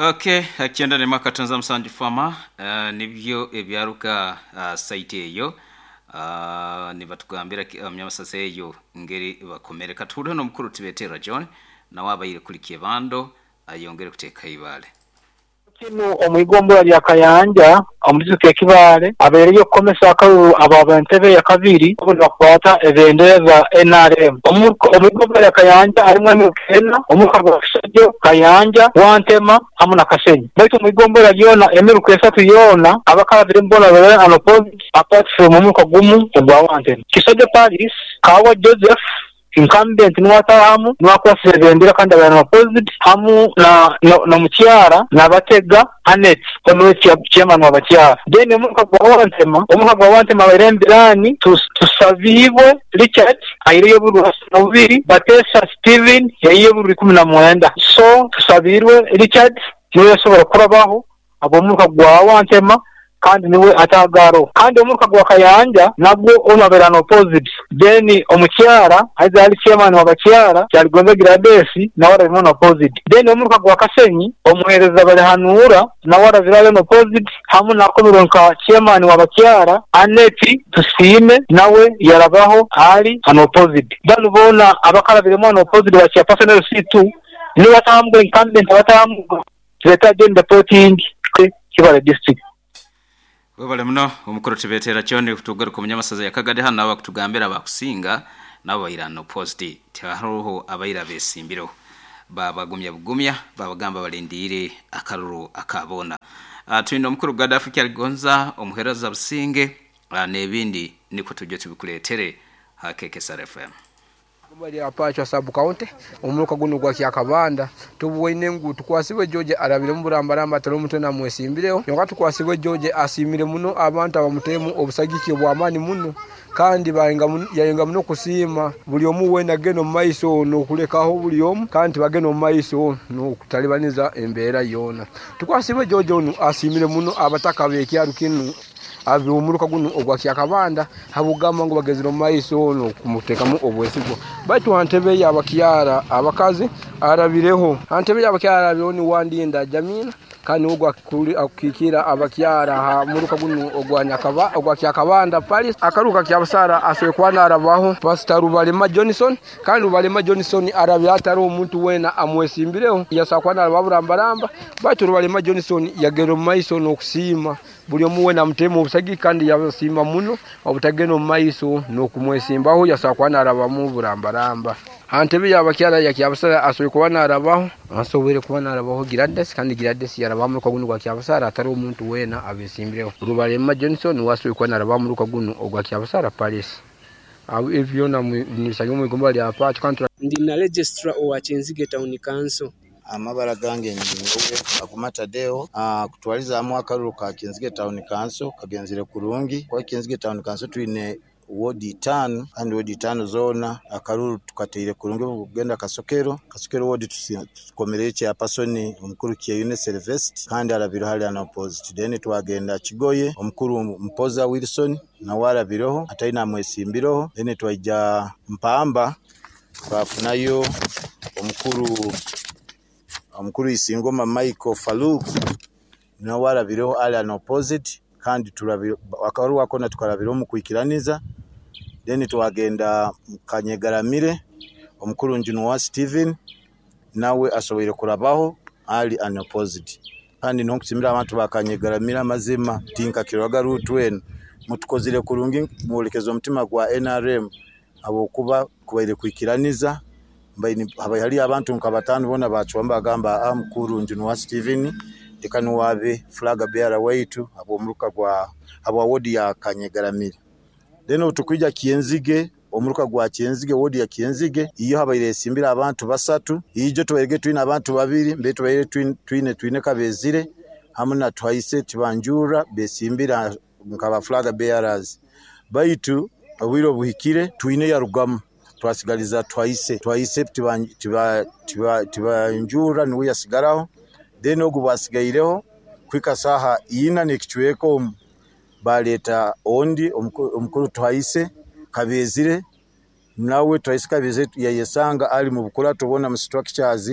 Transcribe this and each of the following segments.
Okay, 97 fama nibyo ebyaruka site eyo nibatugambira munyamasasa eyo ngeri bakomere. Katuhure n'omukuru Tibetera John nawe abaire kuli Kyebando ayongere kuteeka ibale. Kinu omu igombolola lya Kayanja omu disiturikiti ya Kibaale abaireyo okukomesa akalulu abo ab'entebe yakabiri obu nibakwata ebendera za nrm. Omu igombolola lya Kayanja harimu emiruka ena, omuruka gwa Kisajjo, Kayanja, Wantema hamu na Kasenyi. Baitu omu igombolola lyona emiruka esatu yoona abakarabiremu boona babaire unopposed apart from omuruka gumu ogwa Wantema. Kisajjo Paris, Kawa Joseph, Incumbent nuwe ataahamu, nuwe akwasire ebendera kandi abaire unopposed hamu n'omukyara Nabatega Annet onu chairman wa bakyara. Then omuruka gwa Wantema, omuruka gwa Wantema abaire Embirani Tusabiibwe Richard aireyo obururu asatu na bubiri, Batesa Steven yaihayo obururu 19. So Tusabiirwe Richard nuwe yasobora kurabaho ab'omuruka gwa Wantema kandi niwe atagaroho. Kandi omuruka gwa Kayanja nagwo onu abaire unopposed. Then omukyara aize ali chairman wa bakyara Kyaligonza Gladys nawe arabiremu unopposed. Then omuruka gwa Kasenyi omuhereza Balihanuura nawe arabire ali unopposed hamu nakomerwe nka chairman wa bakyara Annet Tusiime nawe yarabaho ali unopposed. Banu boona abakarabiremu unopposed ba chairperson LC2 nibo batahamuga incumbent abatahamuga. Tibetaaga genda reporting Kibaale district. Webale muno omukuru Tibetera John kutugaruka omunyamasaza ya Kagadi hanu nabo bakutugambira abakusinga nabo baira unopposed tiharoho abaira besimbireho babagumya bugumya babagamba balindiire akaruru akabona. Twine omukuru Gaddafi Kyaligonza omuhereza Businge n'ebindi nikwo tujye tubikuletere ha KKSR FM. Igomba lya Pacwa Sub-County omuruka gunu ogwa Kyakabanda tubwoine ngu Tukwasibwe George arabiremu burambaramba atari omuntu weena amwesimbireho kyonka Tukwasibwe George asiimire muno abantu abamutemu obusagiki obw'amaani muno kandi yayenga muno kusiima buli omu weena agenda omu maiso n'okulekaho buli omu kandi tibagenda omu maiso n'okutalibaniza embeera yoona. Tukwasibwe George onu asiimire muno abataka b'ekyaro kinu ab'omuruka gunu ogwa Kyakabanda habw'okugamba ngu bagenzire omu maiso n'okumuteekamu obwesigwa. Baitu ha ntebe y'abakyara abakazi arabireho. Ha ntebe y'abakyara arabireho ni Wandinda Jamina kandi niwe akukiikira abakyara ha muruka gunu ogwa Kyakabanda Paris. Akaruka Kyabasara asoboire kuba naarabaho Pastor Rubalema Johnson kandi Rubalema Johnson arabire atari omuntu weena amwesimbireho yasobola kuba naaraba burambaramba baitu Rubalema Johnson yagenda omu maiso n'okusiima buli omu weena amutemu obusagiki kandi yabasiima muno obutagenda omu maiso n'okumwesimbaho yasobola kuba naarabamu burambaramba. Ha ntebe y'abakyara ya Kyabasara asoboire kuba naarabaho asoboire kuba naarabaho Gladys kandi Gladys yarabaho muruka gunu gwa Kyabasara atari omuntu weena abesimbireho. Rubalema Johnson niwe asoboire kuba naarabaho muruka gunu ogwa Kyabasara Paris. Ebyo byona nibisangibwa omu igomba lya Pacwa kandi Ndi na registrar owa Kyenzige Town Council. Amabara gange nyowe Baguma Tadeo. Kutwaliza akalulu ka Kyenzige Town Council kagenzere kurungi kuba Kyenzige Town Council twine ward 5 kandi ward 5 zoona akalulu tukateire kurungi kugenda Kasokero. Kasokero ward tukomereyo chairperson omukuru Kyeyune Sylvester kandi arabire hali unopposed. Then twagenda Kigoye omukuru Mpoza Wilson nawe arabireho ataine amwesimbireho. Then twaija Mpamba twafunayo omukuru Isingoma Michael Farouk nawe arabireho ali unopposed kandi akalulu akona tukarabira omu kwikiraniza. Then twagenda Kanyegaramire omukuru Njunwa Steven nawe asoboire kurabaho ali unopposed. Kandi nonkusimira abantu ba Kanyegaramire amazima tinkakirwaga rutu enu mutukozire kurungi mwolekeza omutima gwa NRM habwokuba kubaire kwikiraniza. Hali abantu nka batano bona bacwamba bagamba mukuru Njunwa Steven leka niwabe flag bearer waitu habw'omuruka gwa habwa ward ya Kanyegaramire. Then otukwija Kyenzige omuruka gwa Kyenzige ward ya Kyenzige iyo habaire esimbira abantu basatu ijo tubaire twine abantu babiri mbe tubaire twine kabezire hamu na Twaise Tibanjura besimbira nka flag bearers baitu obwire obuhikire twine yarugamu twasigaliza Twaise Tibanjura niwe yasigaraho. Then ogu bwasigaireho kwika saha ina n'ekicweka omu baleta ondi omukuru Twaise Kabezire nawe Twaise Kabezire yayesanga ali mu bukurato bona mu structures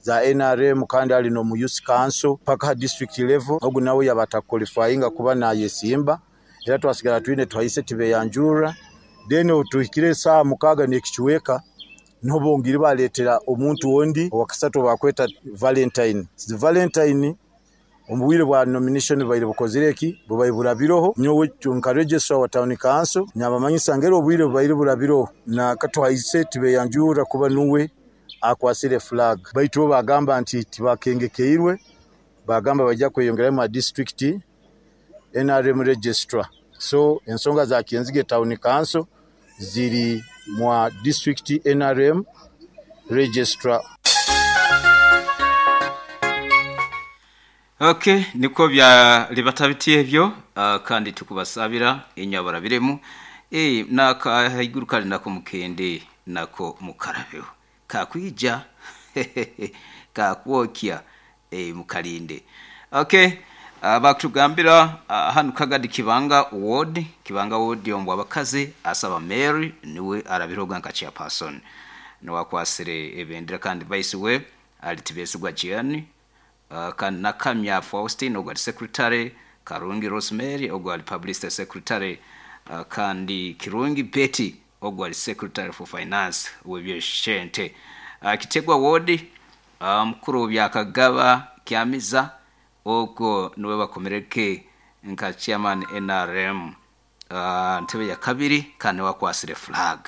za NRM kandi ali n'omu youth council paka ha district level. Ogu nawe yaba ataqualifyinga kuba nayesimba, era twasigara twine tuhaise tibeyanjura. Then otuhikire saa 6 n'ekichweka niho bongire baletera omuntu ondi owakasatu bakweta Valentine. Valentine omubwire bwa nomination baire bukozire ki bubaire burabiroho. Nyowe nka registrar wa town council nyabamanyisa ngero obwire bubaire burabiroho na katuhaise tibeyanjura kuba nuwe akwasire flag. Baitu bo bagamba nti tibakengekeirwe, bagamba bajja kweyongeramu ma district NRM registrar. So ensonga za Kyenzige town council ziri mwa district NRM registrar. Okay, niko bya libatabiti ebyo kandi tukubasabira inyabara biremu naka haiguru kali nako mukende nako mukarabeho kakwija kakwokya mukalinde. Okay, bakutugambira hano Kagadi Kibanga ward, Kibanga ward yombwa abakazi asaba Mary niwe arabiroga nka chairperson niwakwasire ebendera kandi vice we alitibesugwa Jiani kandi Nakamya Faustin ogwa secretary, Karungi Rosemary ogwa publicity secretary, kandi Kirungi Betty ogwa secretary for finance webyeshente. Kitegwa ward mukuru byakagaba Kyamiza ogwo niwe bakomereke nka chairman NRM ntebe ya kabiri kandi wakwasire flag.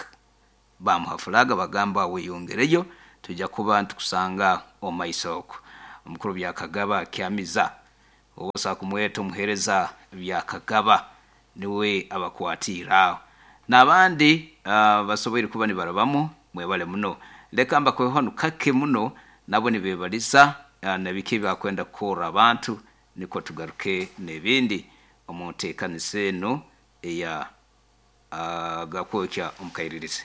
Bamuha flag bagamba weyongereyo tujja kuba ntukusanga omaisoko. Omukuru byakagaba Kyamiza obosa kumweta omuhereza byakagaba niwe abakwatira nabandi basoboire kuba ni barabamu mwebale muno. Leka mbakweho kake muno nabo nibebaliza nabiki bakwenda kukora abantu niko tugaruke nebindi omuntekanise eno eya gakwokya omukairirize.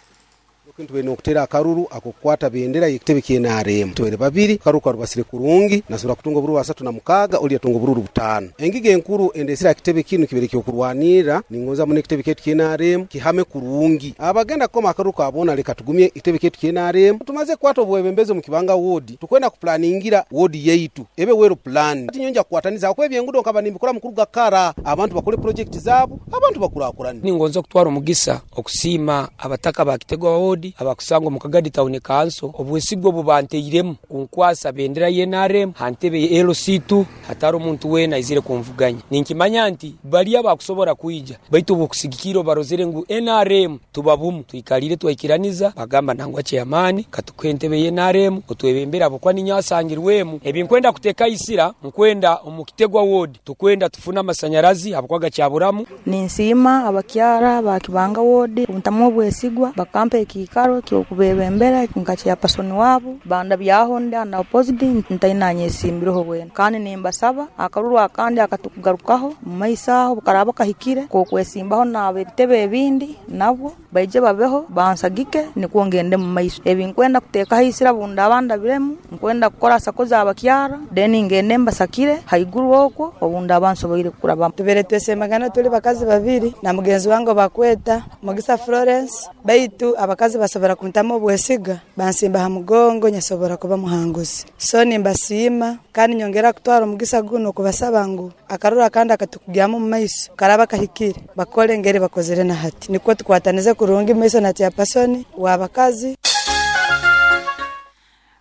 Kintu bene okutera akaruru akokwata bendera yekitebe kye NRM tubere babiri karuka rubasire kurungi nasura kutunga bururu 36 oli atunga bururu 5. Engige enkuru endesira kitebe kinu kibere kyo kurwanira ningoza mune kitebe ketu kye NRM kihame kurungi. Abagenda koma akaruka abona leka tugumye kitebe ketu kye NRM tumaze kwata obwebembezo mu Kibanga ward tukwenda kuplaningira ward yeitu ebe wero plan tinyonja kwataniza akwebye engudo nkaba nimbikora mukuru gakara abantu bakole project zabo abantu bakurakurana. Ningonza kutwara omugisa okusima abataka bakitegwa ward abakusanga mu Kagadi town council obwesigwa bubanteiremu kunkwasa bendera ye NRM hantebe ye LC2 hatari omuntu wena izire kumvuganya. Ninkimanya nti bali abakusobora kuija baitu bukusigikiro barozere ngu NRM tubabumu tuikalire twikiraniza bagamba nangwa chairman katukwe entebe ye NRM otwebembera bokwa ninyasangirwemu ebinkwenda kuteka isira nkwenda omukitegwa ward tukwenda tufuna amasanyarazi abakwaga kyaburamu. Ninsima abakyara bakibanga ward untamu obwesigwa bakampa ekikaro kyokubebembera nka chairperson wabo banda byahonda na opposite ntainanye simbiroho bwena kandi nimbasaba akaruru akandi akatugarukaho mu maisaho bukaraba kahikire kokwesimbaho nabe bitebe ebindi nabwo baije babeho bansagike nikuo ngende mu maiso ebinkwenda kuteka hisira bunda abanda biremu nkwenda kukora sakoza abakyara deni ngende mbasakire haiguru okwo obunda abansoboire kuraba. Tubere twesemagana tuli bakazi babiri na mugenzi wangu bakweta Mugisa Florence baitu abakazi basobora kuntama obwesiga bansimba ha mugongo nyasobora kuba muhanguzi. So nimbasiima kandi nyongera kutwara omugisa guno kubasaba ngu akarura kandi akatukugyamu mu maiso karaba kahikire bakole ngeri bakozere na hati niko tukwatanize kurungi maiso na chairperson wabakazi.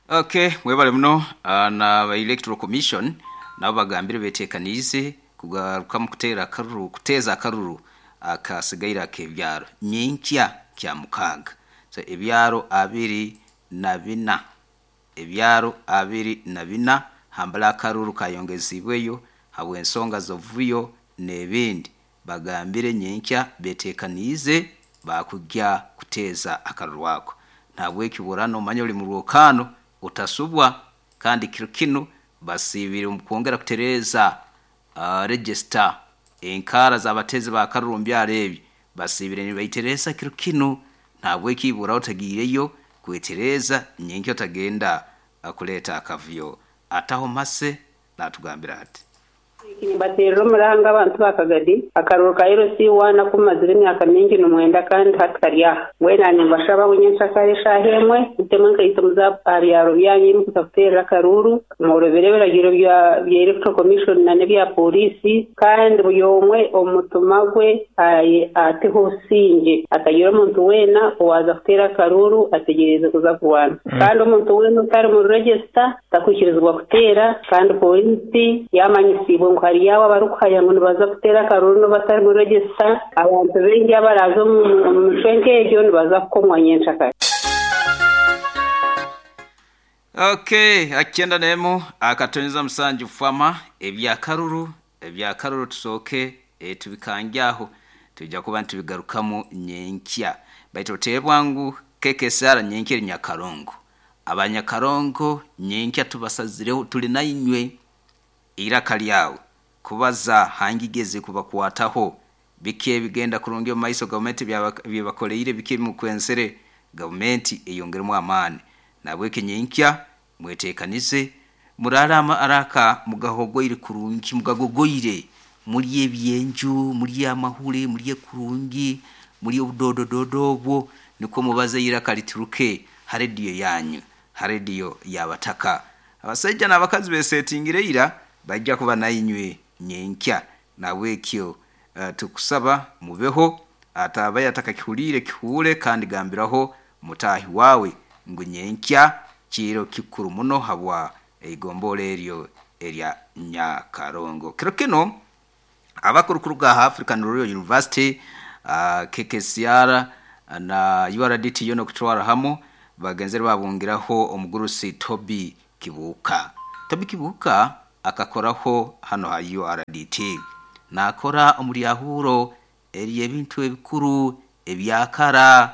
Okay, mwebale muno na Electoral Commission nabo bagambire betekanize kugaruka mu kutera akaruru kuteza akaruru akasigaira kebyaro nyinkya kya mukaga. So ebyaro 24 ebyaro 24 hambala akaruru kayongezibweyo habwe ensonga zovuyo nebindi bagambire nyinkya betekanize bakujya kuteza akaruru wako. Ntabwe kiburano manyoli mu rwokano utasubwa kandi kiro kino basibire mu kwongera kutereza register enkara z'abatezi ba karuru mbyarebye basibire nibayitereza kiro kino ntabwe kibura utagireyo kwetereza nyinkyo tagenda kuleta akavuyo ataho mase natugambira ati Nimbateerera omuranga abantu ba Kagadi, akaruru ka LC1 aku mumazire emyaka mingi nimwenda kandi hati kari aha. Mbwenu naanye nimbashaba ngu nyenkyakare eshaaha emwe mutemu enkaito muze aha byaro byanyu ebi murikuza kuteerera akaruru, mworobere ebiragiro bya Electoral Commission n'ebya pooriisi kandi buri omwe omu mutima gwe ateho obusingye hatagira omuntu weena owaaza kuteera akaruru ategyereize kuza kurwana. Kandi omuntu weena otari muri regisita Takwikirizibwa kuteera kandi pooriisi yaamanyisiibwe ngu hariyo abo abarikuhaya ngu nibaza kuteera akaruru n'obu batari muri regisita. Abantu baingi abaraaze omu micwe nk'egyo nibaza kukomwa nyenkyakare. Okay, akyenda nemu akatonyeza musanju fama ebyakaruru ebyakaruru tusooke e, tubikangyaho tujja kuba nitubigarukamu nyenkya baitu oteebwa ngu KKSR nyenkya eri Nyakarongo Abanyakarongo nyenkya tubasazireho tuli nainywe eiraka lyawe kubaza ha ngigi ezikubakwataho biki ebigenda kurungi omu maiso gavumenti byebakoleire biki ebimukwensere gavumenti eyongeremu amaani nabweki nyenkya mwetekanize muraale amaraka mugahogoire kurungi mugagogoire mulye ebyenju mulye amahule mulye kurungi mulye obudodododo obwo nukwo mubaze eiraka lituruke ha rediyo yanyu, ha rediyo y'abataka. Abasaija n'abakazi besetingire ira baija kuba nainywe nyenkya. Nahabwekyo tukusaba mubeho, atabaye atakakihuliire kihuule kandi gambiraho mutaahi wawe ngu nyenkya kiro kikuru muno habwa eigombora eryo erya Nyakarongo. Kiro kinu abakuru kuruga ha African Royal University, KKCR na URDT yoona okutwara hamu bagenzere babungiraho omugurusi Toby Kibuuka. Toby Kibuuka akakoraho hanu ha URDT. Nakora omu ryahuuro ery'ebintu ebikuru ebyakara.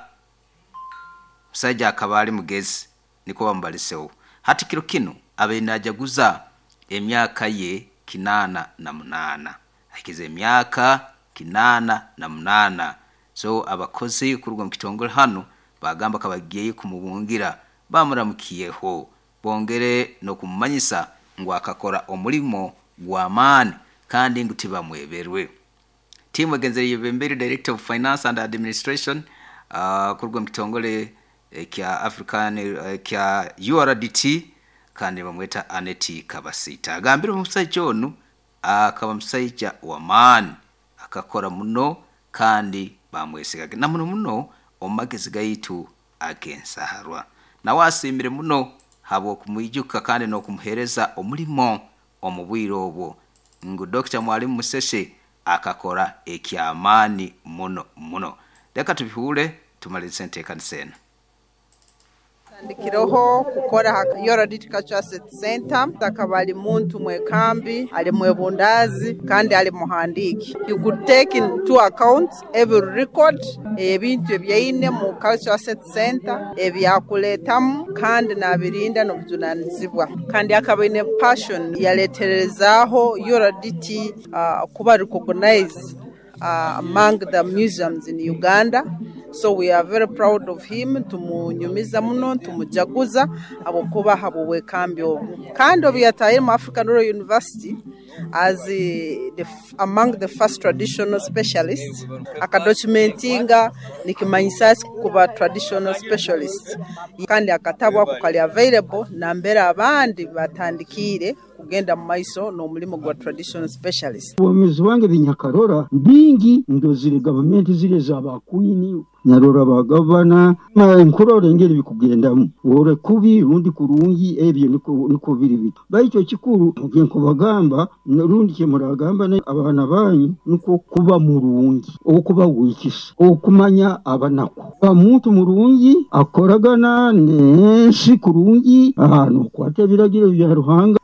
Omusaija akaba ali mugezi nikwo bamubaliseho. Hati kiro kinu abaire najaguza emyaka ye 88. Ahikize emyaka 88. So abakozi kuruga omu kitongole hanu bagamba kabagiyeyo kumubungira bamuramukiyeho bongere n'okumumanyisa ngu akakora omulimo gw'amaani kandi ngu tibamweberwe. Tiimu egenzere eyebembeire Director of Finance and Administration kuruga omu kitongole ekya African ekya URDT kandi nibamweta Annet Kabasiita agambire omusaija onu akaba musaija w'amaani akakora muno kandi bamwesigaga na muno muno omu magezi gaitu ag'ensaarwa. Nawe asiimire muno habw'okumwijuka kandi n'okumuheereza omulimo omu bwire obwo ngu Dokita Mwalimu Musese akakora eky'amaani muno muno. Leka tubihuure tumalirize enteekanisa enu. Atandikireho kukora ha URDT Cultural Assets Center. Akaba ali muntu mwekambi, ali mwebundaazi kandi ali muhandiiki. He could take into account every record ebintu ebyaine mu Cultural Assets Center ebyakuleetamu kandi nabirinda n'obujunanizibwa. Kandi akaba aine passion yaleterezaaho URDT kuba recognized among the museums in Uganda. So we are very proud of him, tumunyumiza muno, tumujaguza habwokuba habw'obwekambi obu. Kandi obu yatahire mu African Royal University as the, among the first traditional specialists, akadocumentinga nikimanyisa kuba traditional specialist. Kandi akatabu ako kali available nambere abandi batandikiire kugenda mu maiso n'omulimo gwa traditional specialist. Obwomeezi bwange binyakarora bingi ndozire gavumenti ziri eza ba kwini nyarora ba gavana nkurora engeri bikugendamu ore kubi rundi kurungi ebyo niko biri biti baitu ekikuru nkubagamba rundi kyemuragamba abaana banyu niko kuba murungi okuba wikisa okumanya abanaku ba muntu murungi akoragana n'ensi kurungi nokwata ebiragiro bya Ruhanga.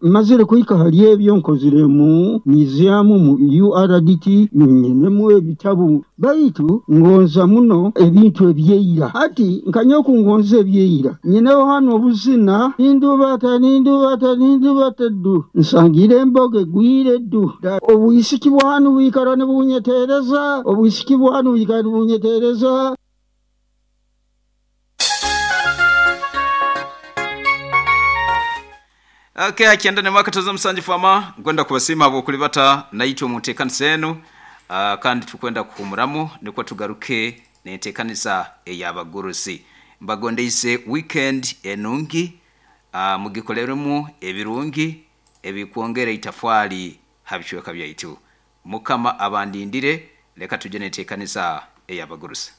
Mazire kuhika hali ebyo nkozire mu museum mu URDT nyinemu ebitabu baitu ngonza muno ebintu ebyeira hati nkanyoku ngonza ebyeira nyineho hano obuzina nindubata nindubata nindubata ddu nsangire emboga egwire ddu obwisiki bwanu bwikara nibunyetereza obwisiki bwanu bwikara nibunyetereza. Okay, hakyenda ne mwaka tuza musanji fama nkwenda kubasima abo kulibata naitwe mu ntekanisa enu. Kandi tukwenda kuhumuramu nikwo tugaruke n'entekanisa ey'abagurusi. Mbagondeise weekend enungi, mugikoleremu ebirungi ebikwongera itafwali ha bicweka byaitu. Mukama abandindire, leka tujye n'entekanisa ey'abagurusi.